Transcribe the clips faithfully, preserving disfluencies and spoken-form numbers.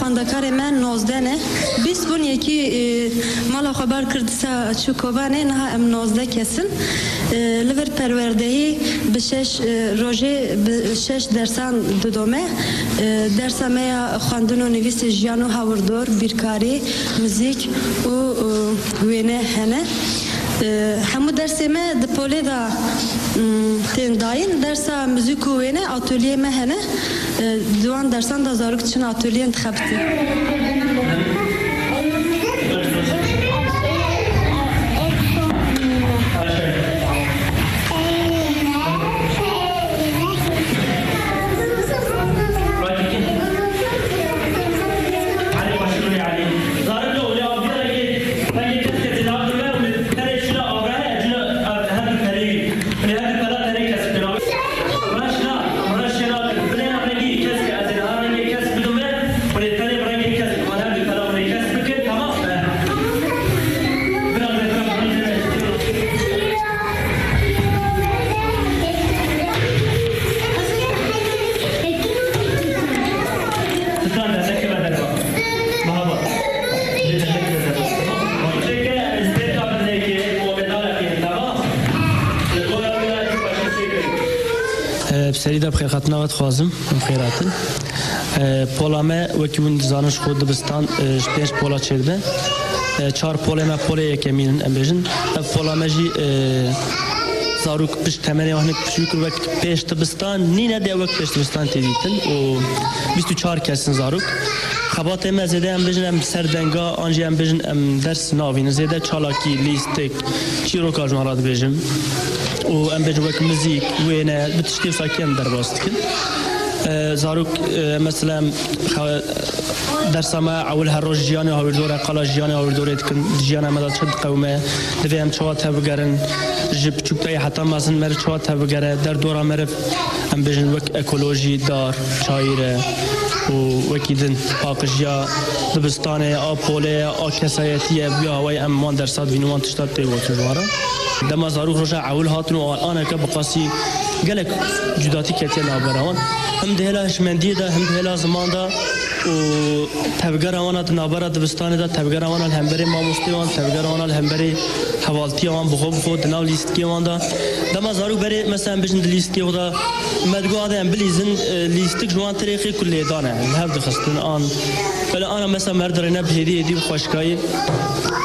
Xwendekarê me nozdeh ne. Bîst bûn, yekî, e, mala xwe bar kir, dîsa çû Kobanê, niha em nozdeh kes in. E, li vir perwerdehî bi şeş, e, rojê bi şeş dersan didome. E, dersa me ya xwendin û nivîsê, jiyan û hawirdor, bîrkarî, muzîk û, e, wêne hene. E, hemû dersê me di polê de, mm, tên dayîn. Dersa muzîk û wêne, atolyeyê me hene. E, di wan dersan de zarok diçin atolyeyên dixebitin. Bi serî de bi xêrhatina we dixwazim, em xêr hatin. E, pola me, wekî hûn dizanin, ji xwe dibistan, e, ji pênc pola çêdibe. E, çar polê me polê yekemîn in, em bêjin. Ev pola me jî, e, zarok pişt temenê wan hinek piçûk wek pêş dibistan nîne de, wek pêş dibistan tê dîtin û bîst û çar kes in zarok. Xebatê me zêde, em bêjin, em ser denga, an jî em bêjin, em ders navînin. Zêde çalakî, lîstik, çîroka ji wan re dibêjim. Û em bêjin wek muzîk, wêne, bi tiştê wisa kêm derbas dikin. E, zarok, e, mesela em xe-, dersa me ewil her roj jiyanê hawirdorê, qala jiyanê hawirdorê dikin. Di jiyana me de çi diqewime, divê em çawa tevbigerin, ji piçûktayî heta mezin meriv çawa tevbigere, derdora meriv, em bêjin wek ekolojî, dar, çayîr e û wekî din paqijiya dibistanê, a polê, a kesayetî ye, bi wî awayî em wan dersa dibînin, wan tişta tê gotin ji wan re. Dema zarok roja ewil hatin û aneke bi qasî gelek cudatî ketiye navbera wan. Him di hêla hişmendiyê de, him di hêla ziman de û tevgera wan a di navbera dibistanê de, tevgera wan a li hemberî mamostê wan, tevgera wan a li hemberî hevaltiya wan bi xwe bi xwe di nav lîstikê wan de. Dema zarok berê, mesela, em bêjin di lîstikê xwe de me digot, ade em bilîzin, e, lîstik ji wan tirêxê ku lêdan e, li hev dixistin an. Belê ana, mesela, me dirêne bi hêdî hêdî bi xweşikayî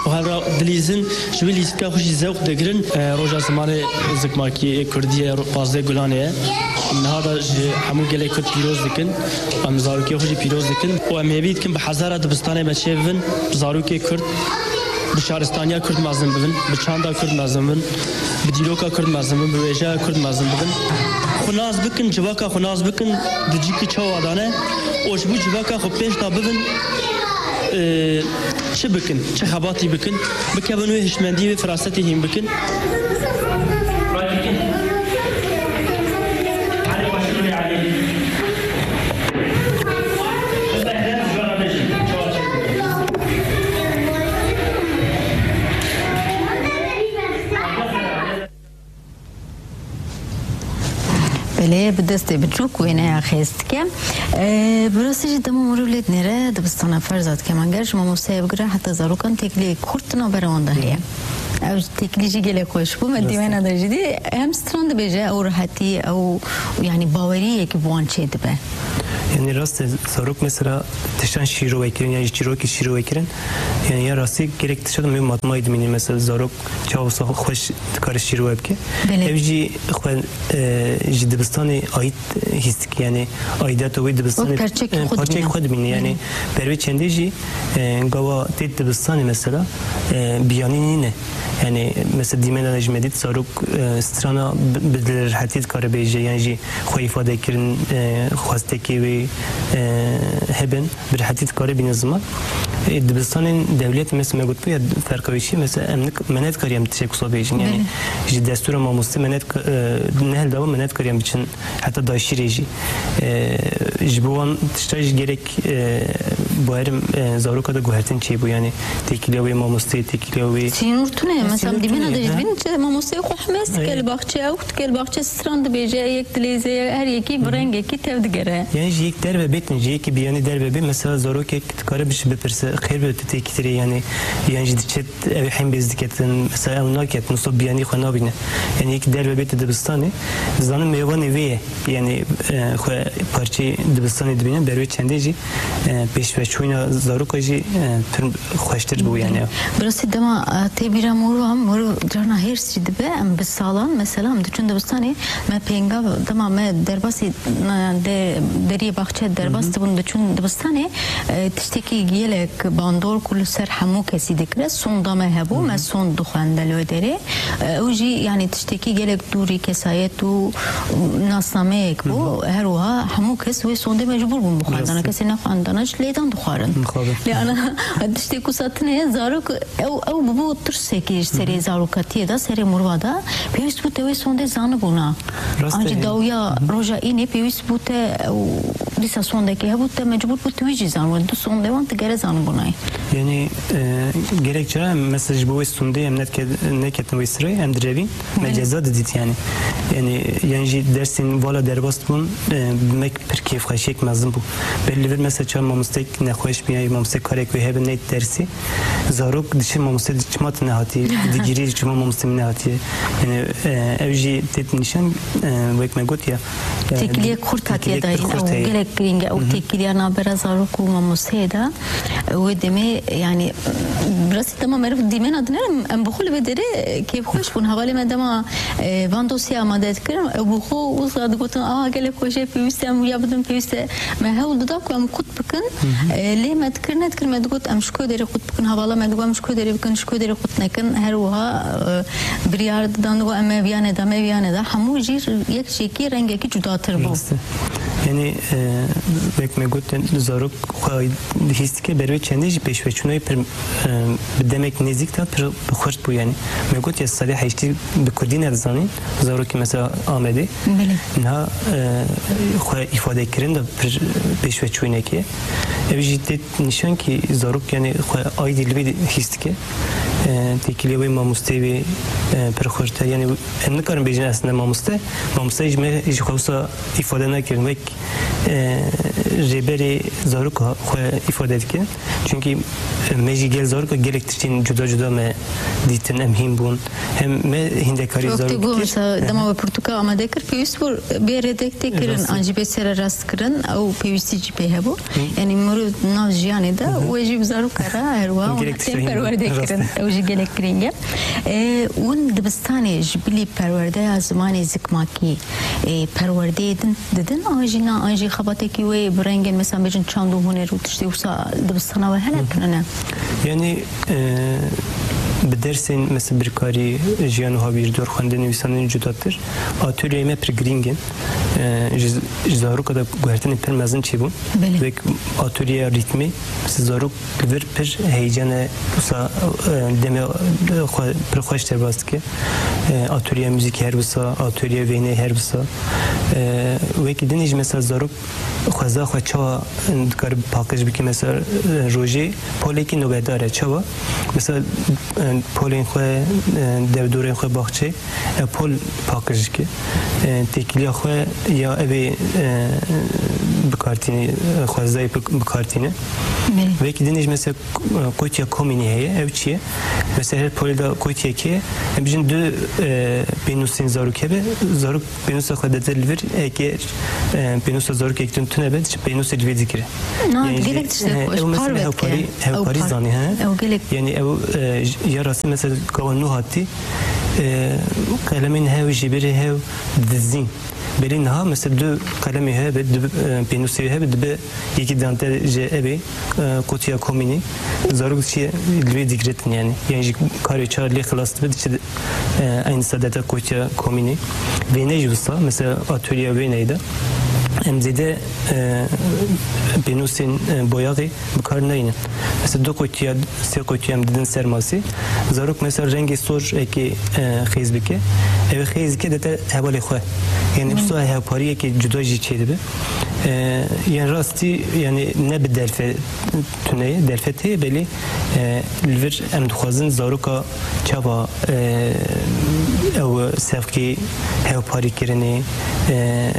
û hev re dilîzin, ji wî lîstika xwe jî zewq digirin. E, roja zimanê zikmakî ê kurdî ye, ro-, pazdeh Gulanê ye. Niha da ji hemû gelê kurd pîroz dikin. Em zarokê xwe jî pîroz dikin. Û em hêvî dikin bi hezara dibistanê me çêbibin, bi zarokê kurd, bi şaristaniya kurd mezin bibin, bi çanda kurd mezin bibin, bi dîroka kurd mezin bibin, bi wêjeya kurd mezin bibin. Xwe nas bikin, civaka xwe nas bikin, di cîkî çawa dane û ji bo civaka xwe pêş de bibin, e, çi bikin, çi xebatî bikin, bikevin wê hişmendî, wê firasetê hîn bikin. Belê, bi destê biçûk wêneya xêz dike. Ee, bi rastî jî dema mirov lê dinêre dibistana ferza dike. Heman ger ji mamosteyê bigire heta zarokan têkiliyek kurt di navbera wan de heye. Ew têkilî jî gelek xweş bû. Me dîmena de jî dî hem stran dibêje, ew rehetî, ew, yanî, baweriyek bi wan çê dibe. Yanî rast e, zarok mesela tiştan şîrove kirin, yan jî çîrokî şîrove kirin. Yanî ya rastî gerek tiştan me matmayî dimînî. Mesela zarok çawa wisa xweş dikare şîrove bike. Belê. Ev jî xwe, e, ji dibistanê ait hîs dike, yanî aidiyeta wê dibistanê, wek perçekî, e, xwe parçeyek dimîne. Xwe dimîne. Yanî, hı hı, ber wê çendê jî, e, gava tê dibistanê mesela, e, biyanî nîne. Yanî mesela dîmena de jî me dît zarok, e, strana bi, bi rehetî dikare bêje, yan jî xwe îfade kirin, e, xwestekê wê, e, hebin. Bi rehetî dikare bîne ziman. Ê, dibistanên dewlet, mesela me gotibû ya, ferqa wê çi ye? Mesela em nik-, me nedikarî em tiştek wisa bêjin. Yanî, belê, ji destûra mamostê me nedika-, e, ne hildava me nedikarî em biçin heta daşîrê jî. E, ji bo wan tişta jî gerek, e, Bawerim, e, zaroka de guhertin çêbû, yani têkiliya wê mamosteyê, têkiliya wê. Sînor tune, e, mesela sînor dîmena tune, de jî ha. Dibîn, çi mamosteyê xwe hemez dike li baxçe, ew dike li baxçe stran dibêje, yek dilêze, her yekî bi rengekî tev digere. Yani ji yek derve bêtin, ji yekî biyanî derve bê, mesela zarokek dikare biş bipirse, xêr be tu têkî tirê, yani, yan jî diçe ew hem bêz diketin, mesela ew naketin, wisa biyanî xwe nabîne. Yani yek derve bête dibistanê, dizanin mêvanê vê ye. Yani, e, xwe parçeyê dibistanê dibîne, ber wê çendê jî, e, pêşveçûna zaroka jî, e, pir xweştir bû yani. Bi rastî dema, e, tê bîra mor û mor û carna hêrs jî dibe, em bi salan, mesela em diçûn dibistanê, me pênga dema me derbasî, e, de, deriyê baxçe derbas dibûn, diçûn dibistanê, e, tiştekî gelek bandor ku li ser hemû kesî dikire, sonda me hebû, me sond dixwendin li wê derê. Ew jî, yanî tiştekî gelek dûrî kesayet û nasnameyek bû. Her wiha hemû kes wê sondê mecbûr bûn bixwendana. Rast e. Kesê nexwendana ji lêdan dixwarin. Mixabin. Lê ana tiştê ku sa tune ye, zarok, ew, ew bûbû tirsekê ji serê zarokatiyê de, serê mirova de. Pêwîst bû te wê sondê zanibûna. Rast e. An jî dawiya roja înê pêwîst bû te, ew dîsa sondekê hebû, te mecbûr bû tu wî jî zanibû. Du sondê wan tu gere zanibûnayî. Yani, e, gelek cara em mesela ji bo wê sondê em netke-, neketin wê sirê, em direvîn, me ceza didît yani. Yani, yan jî dersên vala derbas bûn, e, bi me pir kêfxweşiyek mezin bû. Belê li vir mesela çawa mamostek nexweş bî, yan mamostek karek wê hebe neyt dersê, zarok diçe mamostek çima tu nehatî, digirî çima mamostek min nehatiye. Yani, e, ew jî têt nîşan, e, wek me got ya, e, têkiliyek xurt hatiye dayîn, ew gelek girîng e, ew têkiliya navbera zarok û mamosteyê de. Wê demê, yani, bi rastî dema meriv dîmena dine, em, em bi xwe li vê derê kêfxweş bûn. Hevalê me dema, e, van dosya amade dikirin, ew bi xwe wisa digotin, "Aha, gelek xweş e, pêwîst e em wiya bidin, pêwîst e." Me hewl dida ku em qut bikin, e, lê me dikir, nedikir, me digot, "Em ji ku derê qut bikin?" Hevala me digot, "Em ji ku derê bikin, ji ku derê qut nekin." Her wiha, e, biryar didan, digot, "Em me viya neda, me viya neda." Hemû jî yek jêkî rengekî cudatir bû. Rast e. Yani, e, wek me got, zarok xwe hîs dike, ber wê çendê jî pêşveçûnayê pir, e, bi demek nêzîk de pir bi xurt bû yani. Me got ya sedê heştî bi kurdî nedizanîn, zarokê mesela Amedê. Belê. Niha, e, xwe îfadekirin de pir pêşveçûnekê. Ev jî tê nîşan kî zarok yani xwe aydî li vê hîs dike. E, têkiliya wê mamosteyê wê, e, pir xurt e. Yani em nikarin bêjin aslında mamoste. Mamoste ji me, ji xwe wisa îfade nekirin. Wek e, rêberê zaroka xwe îfade dikin. Çunkî, e, me jî gel zaroka gelek tiştên cuda cuda me dîtin, em hîn bûn. Hem me hîndekarî zarokî kir. Wek tu got, mesela, dema we pirtûka amade kir, pêwîst bû bê redaktê kirin, an jî bê sererast kirin, ew pêwîstî jî pê hebû. Yanî mirov nav jiyanê de, wê jî bi zaroka re her wiha wan tê perwerdê kirin. Ew jî gelek girîng e. E, hûn dibistanê ji bilî perwerdeya zimanê zikmakî e, perwerdeyê din didin, an jî na, an jî xebatekî wê bi rengên, mesela, bêjin çand û huner û tiştê wisa dibistana we hene kirine? Yani, e, bi dersên, mesela, birkarî, jiyan û hawîrdor, xwendin, nivîsandin cudatir, atolyeyê me pir girîng in. E, ji, ji zaroka de guhertinên pir mezin çêbûn. Belê. Wek atolyeya rîtmê, mesela, zarok li vir pir heyecan e, wisa, e, demê, e, xwe pir xweş derbas dike. E, atölye muzîkê her wisa, atölye wêneyê her wisa. E, wekî dinê jî mesela zarok xweza xwe çawa, e, dikare paqij bike, mesela, e, rojê polekî nobetdar e. Çawa? Mesela, e, polên xwe, e, derdorên xwe baxçê, e, pol paqij dike. E, têkiliya xwe ya evê, e, bikartînî, e, xwezayê bi-, bikartîne. Belê. Wekî dinê jî mesela, e, kotiya komînî heye. Ev çi ye? Mesela her polê de kotiyek heye. Em bijin du, e, pênûsên zarok hebe. Zarok pênûsa xwe dete li vir. Eger, e, pênûsa zarokek din tune be, diçe pênûsê li vê digire. Na, yani gelek tiştek, e, xweş, ew mesela par hewkarî, veke. Hewkarî zanî, he? Ew gelek. Yani ew, e, j-, ya rastî mesela gava nû hatî, e, qelemên hev, jêberê hev dizîn. Belê niha mesela du qelemê hebe, du, e, pênûsê hebe, dibe yekî dantel ji evê, e, kotiya komînî. Zarok diçe li wê digretin yani. Yani ji karê çar lê xilas dibe, diçe, e, eynî sadete kotiya komînî. Wêne jî wisa, mesela atölyeya wêneyê de. em zêde, e, pênûsên, e, boyaxê bi kar nayînin. Mesela du qutiya, sê qutiya em didin ser masê. Zarok mesela rengê sor eke, e, xêz bike. Ew ê xêz bike dete hevalê xwe. Yani wisa hevpariyeke cuda jî çêdibe. E, yani rastî yani ne bi derfe tune ye, derfet heye belê, e, li vir em dixwazin zaroka çava, e, ew sefkê hevparîkirinê, e,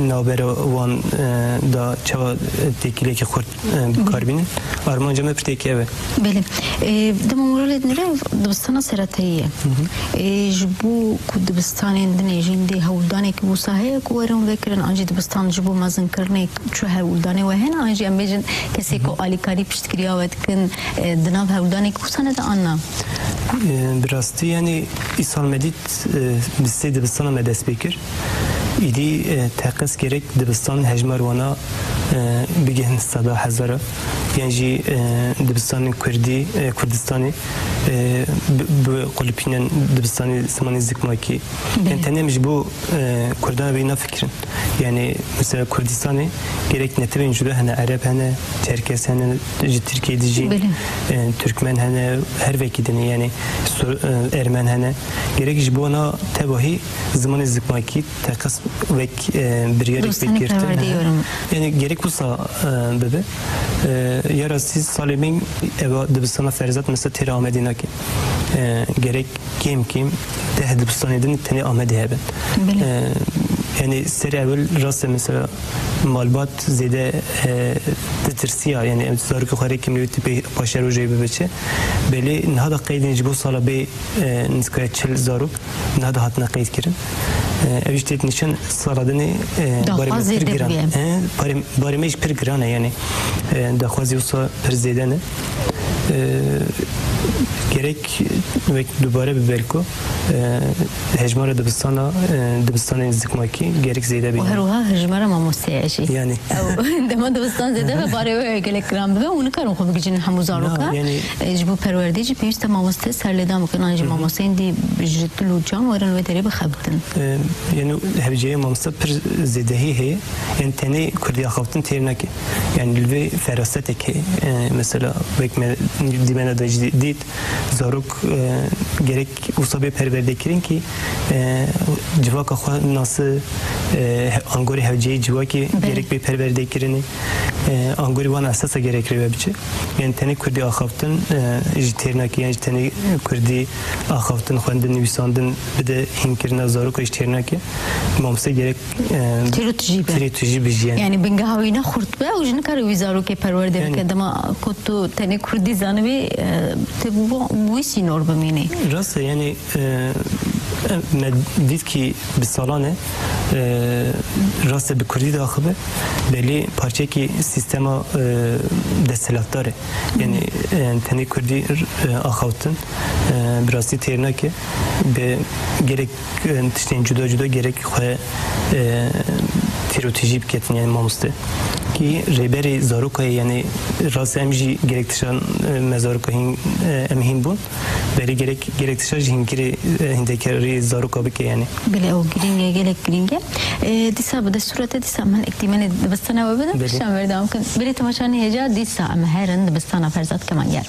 navbera wan, e, da çava têkiliyekî xurt, e, bi kar bînin. Armanca me pirtêkî ew e. Belê. E, dema moralê dinêre dibistana seretayî ye. E, ji bo ku dibistanên din ê jî dê hewldanekî wisa heye ku werin vekirin, an jî dibistan ji bo mezinkirinê çi hewldanê we hene, an jî em bêjin kesê ku alîkarî piştgiriya we dikin, e, di nav hewldanekî wisa ne de an na? E, bi rastî, yani, îsal me dît, e, bi sê dibistana me dest pê kir. Îdî, e, teqez gerek dibistan hejmar wana, e, bigihin seda hezara. Yan jî, e, dibistanên Kurdî, e, Kurdistanê, e, bi, bi qulipînen dibistanê zimanê zikmakî. Belê. Yani tenê em ji bo, e, Kurdan vê nafikirin. Yani mesela Kurdistanê gerek netewên cuda hene, Ereb hene, Çerkes hene, ji Tirkiyê dijî, Belê. e, Türkmen hene, her vekî dinê, yani Sur-, e, Ermen hene. Gerek ji bo na tevahî zimanê zikmakî teqez wek, e, biryarek Dostane pêk girtin. Perwerde yorum. Yani gerek wisa, e, bibe. E, ya rastî salê min eva dibistana Ferzat mesela têra Amedê nake. E, gerek kêm kêm deh dibistanê din tenê Amedê hebe. Belê. E, yani serê ewil rast e mesela malbat zêde, e, ditirsiya, yani em zarokê xwe rê kêm wê tê pê paşerojê bibe çi. Belê niha da qeydên ji bo sala bê, e, nizikaya çil zarok niha da hatine qeyd kirin. E, ev jî tê nîşan sala dinê, e, barê me pir giran. E, barê, barê me jî pir giran e yani. E, daxwazî wisa pir zêde ne. E, gerek wek dubare bi belko, e, hejmara dibistana, e, dibistanên zikmakî gerek zêde bîne. Û her wiha hejmara mamosteyê jî. Yani. Ew, dema dibistan zêde be, barê wê gelek giran bibe û nikarin xwe bigihîjin hemû zaroka. Na, yani. E, ji bo perwerdê jî pêwîst e mamoste serlêdan bikin, an jî mamosteyên dî ji dil û can werin wê derê bixebitin. E, yani hewceyê mamoste pir zêdehî heye. Yani tenê Kurdî axaftin têr nake. Yani li vê ferasetek heye. E, mesela wek me dîmena de jî dît, zarok, e, gerek wisa bê perwerdekirin kî, e, civaka xwe nasi, e, angorê hewceyê civakê Belê. gerek bê perwerdekirinê, e, angorê wan esasa gerek rê ve biçe. Yani tenê Kurdî axaftin, e, jî têr nake, yani jî tenê Kurdî axaftin, xwendin, nivîsandin bide hînkirina zaroka jî têr nake. Mamoste gerek, e, Têro tijî be. Têro tijî bijî yani. Yani bingeha wî ne xurt be û jî nikare wî zarokê perwerde Yani. bike. Dema ku tu tenê Kurdî zanibî, e, tu bi wî sînor bimînî. Rast e, yani, e, me dît kî bi salan e, e, rast e bi Kurdî diaxibe, belê parçekî sîstema, e, desthilatdar e. Yani, e, tenê Kurdî, e, axaftin, e, bi rastî têr nake. Bi gelek, e, tiştên cuda cuda gerek xwe, e, têrotîjî biketin, yani mamoste. Kî rêberê zaroka ye, yani rast em jî gerek tiştan, e, me zaroka hîn, e, em hîn bûn. Belê gerek, gerek tişta jî hînkirê, e, hîndekarî zaroka bike yani. Belê ew girîng e, gelek girîng e. E, dîsa bi destûra te dîsa min ek dîmenê dibistana we bidin, Belê. pişta em berdewam kin. Belê temaşanî hêja dîsa em herin dibistana Ferzad Kemanger.